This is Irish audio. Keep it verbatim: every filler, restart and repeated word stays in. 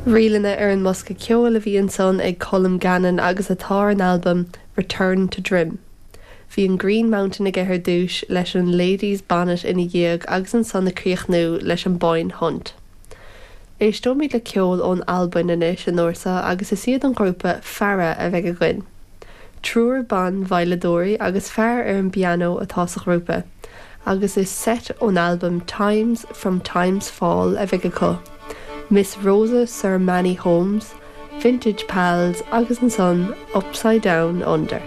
Ríleanna ar an mbosca ceoil a bhí ansan ag Colm Gannon agus atá ar an albam Return to Drim. Bhí an Green Mountain aige ar dtús leis an Ladies Bonnet ina dhiaidh agus ansan ag críochnú leis an Boyne Hunt. Éisteoimid le ceol ón Albain anois an uair seo agus is iad an grúpa Farah a bheidh againn. Triúr ban veidhleadóirí agus fear ar an bpianó atá sa ghrúpa, agus is seit ón albam Times from Times Fall a bheidh acu. Miss Rosa Sir Manny Holmes, Vintage Pals agus ansan Upside Down Under.